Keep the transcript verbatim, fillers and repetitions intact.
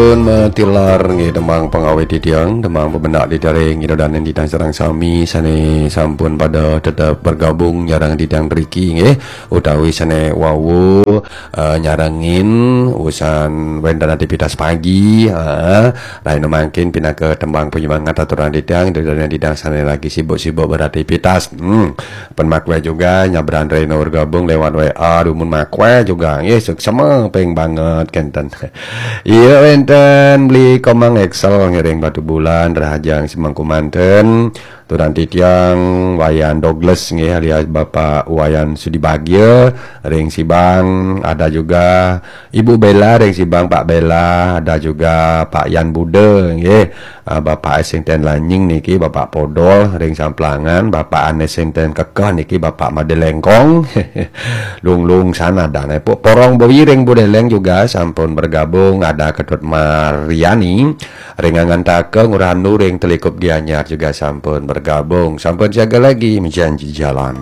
Pun matilar nggih, tembang pangawit titiang, tembang pebenak titiang nggih, dan titiang sareng sami sane sampun pada tetep bergabung nyarengin titiang mriki nggih, utawi sane wau eh, nyarengin usan wenten aktivitas pagi, eh, lain mangkin pinaka tembang penyemangat aturan titiang, dan titiang sane lagi sibuk-sibuk beraktivitas. Hmm. Pen makwe juga nyabran reno bergabung lewat W A, dumun makwe juga nggih, suksema ping banget kenten. Iya, wenten Beli Komang Excel ngiring Batu Bulan, Rahajang Semangku Manten, turan titiang Wayan Douglas nggih, alias Bapak Wayan Sudibagya ring Sibang, ada juga Ibu Bella ring Sibang, Pak Bella, ada juga Pak Yan Buda nggih. Ah, Bapak Esingten Lanying niki, Bapak Podol ring Samplangan, Bapak Anes Singten Kekeh niki, Bapak Madelengkong. Lunglung sana ada ne. Porong Boyi ring Budeleng juga sampun bergabung, ada Ketut Mariani ring Angantaka, Ngurah Anu ring Telikup Gianyar juga sampun bergabung. Sampun siaga lagi, menjanji jalan.